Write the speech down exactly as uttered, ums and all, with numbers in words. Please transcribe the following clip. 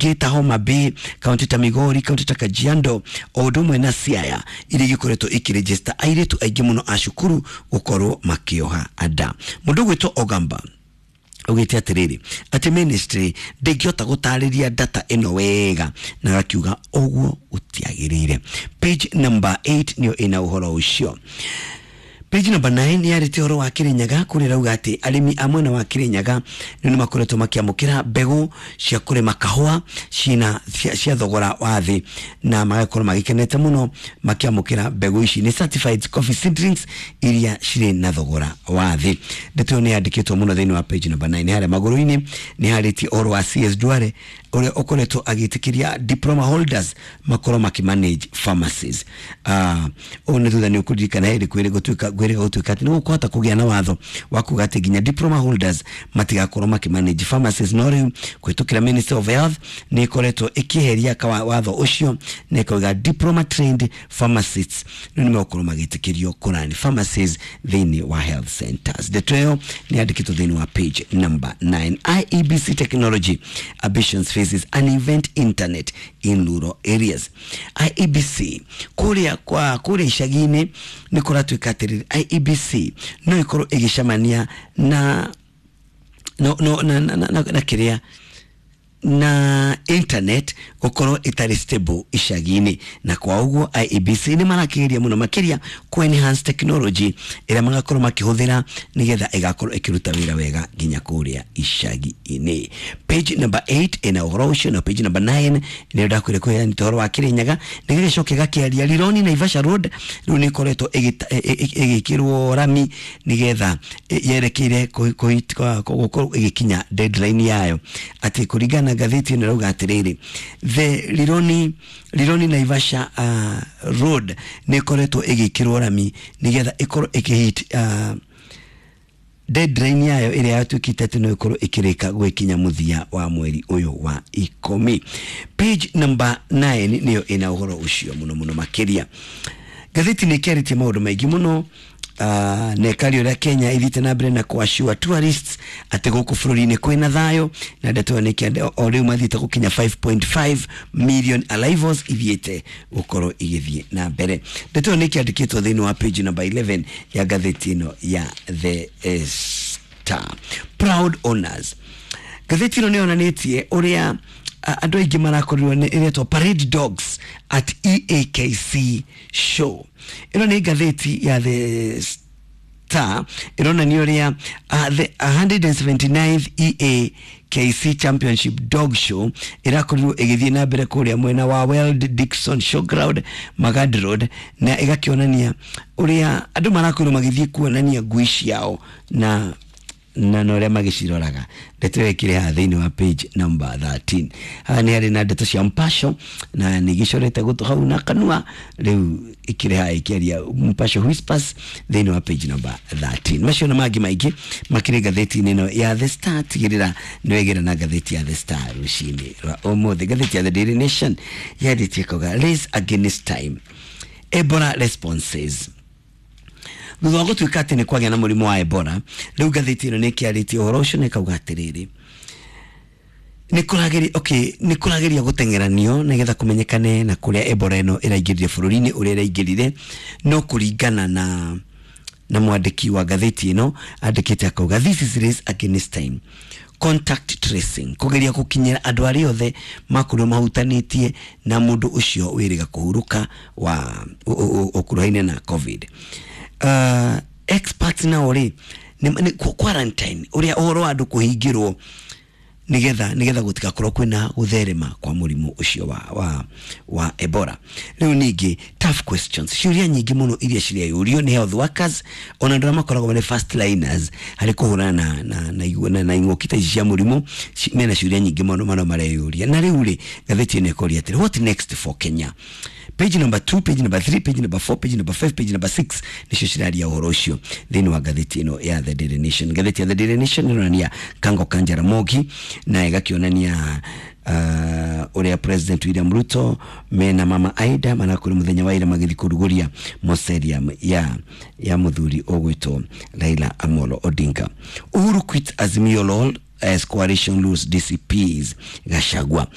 ingĩ ta Homa Bay, kaunti ta Migori, kaunti ta Kajiado o ũndũ ũmwe na Siaya iria igĩkoretwo ikĩregister airĩtu aingĩ mũno a cukuru gũkorwo makĩoha nda. Mũndũ ũgwĩtwo Ogamba ugite atiriri ati ministry ndingihota gutariria data ino wega na gakiuga uguo gutiagirire. Page number eight niyo ina uhoro ucio. Page number nine yarĩtie ũhoro wa Kirinyaga kũrĩa rauga atĩ arĩmi a mwena wa Kirinyaga nĩ nĩ makoretwo makĩamũkĩra mbegũ cia kũrĩma kahũa cina cia, cia thogora wa thĩ na magakorwo magĩkenete mũno makĩamũkĩra mbegũ ici nĩ certified coffee seedlings iria cirĩ na thogora wa thĩ. Ndeto ĩyo nĩ yandĩkĩtwo mũno thĩinĩ wa page number nine. Harĩa magũrũ-inĩ nĩ harĩtie ũhoro wa C S Duale ũrĩa ũkoretwo agĩtĩkĩria diploma holders makorwo makĩmanage pharmacies. Ah, ũũ nĩ thutha nĩ ũkũririkana hĩndĩ kwĩrĩ gũtuĩka kwĩrĩga gũtuĩka atĩ nĩ gũkũhota kũgĩa na watho wa kuga atĩ nginya diploma holders matigakorwo makĩmanage pharmacies, no rĩu kũhĩtũkĩra Ministry of Health nĩ ĩkoretwo ĩkĩeheria kawa watho ũcio na ĩkauga diploma trained pharmacists rĩu nĩ megũkorwo magĩtĩkĩrio kũrani pharmacies thĩinĩ wa health centers. Ndeto ĩyo nĩ yandĩkĩtwo thĩinĩ wa page number nine. I E B C technology ambitions faces an event internet in rural areas. I E B C kũrĩa kwa kũrĩa icagi-inĩ nĩ kũratuĩka atĩrĩrĩ I E B C no ĩkorwo ĩgĩcemania na no no na na, na, na, na kĩrĩa na internet gukorwo itari stable icagi-inĩ, na kwa ũguo I E B C nĩ marakĩgeria mũno makĩria ku enhance technology ĩrĩa magakorwo makĩhũthĩra nĩgetha ĩgakorwo ĩkĩruta wĩra wega nginya kũrĩa icagi-inĩ. Page number eight ĩna ũhoro ũcio, na page number nine nĩyo ndakwĩra kũheana ũhoro wa Kirinyaga nĩgĩgĩcoke gakĩaria Rironi Naivasha Road rĩu nĩ ĩkoretwo ĩgĩkĩrwo rami nĩgetha yerekeire gũkorwo ĩgĩkinya deadline yayo, atĩ kũringana ngathĩti ĩno ĩrauga atĩrĩrĩ the Rironi Rironi Naivasha uh, Road nĩ ĩkoretwo ĩgĩkĩrwo rami nĩgetha ĩkorwo ĩkĩhit uh, deadline yayo ĩrĩa yatuĩkĩte atĩ no ĩkorwo ĩkĩrĩka gwĩkinya mũthia wa mweri ũyũ wa ikũmi. Page number nine nĩyo ĩna ũhoro ũcio mũno mũno makĩria. Ngathĩti nĩ ĩkĩarĩtie maũndũ maingĩ mũno. Uh, na ĩkaria ũrĩa Kenya ithiĩte na mbere na kũassure tourists atĩ gũkũ bũrũri-inĩ kwĩna thayũ, na ndeto ĩyo nĩ ĩkĩande o rĩu mathiĩte gũkinya five point five million arrivals ithiĩte gũkorwo igĩthiĩ na mbere. Ndeto ĩyo nĩ ĩkĩandĩkĩtwo thĩinĩ wa page number eleven ya ngathĩti ĩno ya The Star. Proud owners. Ngathĩti ĩno nĩ yonanĩtie ũrĩa andũ aingĩ marakorirwo nĩ ĩretwo parade dogs at E A K C show. Ĩno nĩ ngathĩti ya The Star ĩronania ũrĩa uh, the a hundred seventy-ninth E A K C Championship Dog Show ĩrakorirwo ĩgĩthiĩ na mbere kũrĩa mwena wa World Dixon Showground Magadi Road, na ĩgakĩonania ũrĩa andũ marakorirwo magĩthiĩ kuonania ngui ciao na na na ũrĩa magĩciroraga. Ndeto ĩyo ĩkĩrĩ haha thĩinĩ wa page number thirteen. Haha nĩ harĩ na ndeto cia Mpasho na nĩ igĩcorete gũtũ hau na kanua, rĩu ĩkĩrĩ haha ĩkĩaria Mpasho Whispers thĩinĩ wa page number thirteen. Macio na mangĩ maingĩ makĩrĩ ngathĩti-inĩ ĩno ya The Star. Tigĩrĩra nĩ wegĩra na ngathĩti ya The Star rũcinĩ rwa ũmũthĩ. Ngathĩti ya The Daily Nation yandĩtie kauga race against time, Ebola responses. Thutha wa gũtuĩka atĩ nĩ kwagĩa na mũrimũ wa Ebola, rĩu ngathĩti ĩno nĩ ĩkĩarĩtie ũhoro ũcio na ĩkauga atĩrĩrĩ nĩ kũrageria, okay, nĩ kũrageria gũteng'eranio nĩgetha kũmenyekane na kũrĩa Ebola ĩno ĩraingĩrire bũrũri-inĩ ũrĩa ĩraingĩrire, no kũringana na na mwandĩki wa ngathĩti ĩno andĩkĩte akauga this is race against time, contact tracing, kũgeria gũkinyĩra andũ arĩa othe makorirwo mahutanĩtie na mũndũ ũcio wĩrĩga kũhurũka wa ũkuruhaine na COVID. Uh, experts nao rĩ nĩ quarantine ũrĩa ũhoro wa andũ kũhingĩrwo nigetha nigetha gũtigakorwo kwĩna gũtherema kwa mũrimũ ũcio wa, wa, wa Ebola. Rĩu ningĩ tough questions, ciũria nyingĩ mũno iria cireyũrio nĩ health workers ona andũ arĩa makoragwo marĩ first liners harĩ kũhũrana na, na, na, na, na ing'ũki ta ici cia mũrimũ, mena ciũria nyingĩ mũno mũno mareyũria. Na rĩu rĩ ngathĩti ĩno ĩkoria atĩrĩ what next for Kenya? Page number two, page number three, page number four, page number five, page number six nicio ciraria ũhoro ũcio thĩinĩ wa ngathĩti ĩno ya The Daily Nation. Ngathĩti ya The Daily Nation ĩronania Kango ka Jaramogi na ĩgakĩonania uh, ũrĩa President William Ruto mena Mama Aida manakorwo mũthenya wa ira magĩthiĩ kũrugũria mausoleum ya ya mũthuri ũgwĩtwo Raila Amolo Odinga. Uhuru quit Azimio L O L as coalition lose D C Ps Gachagua.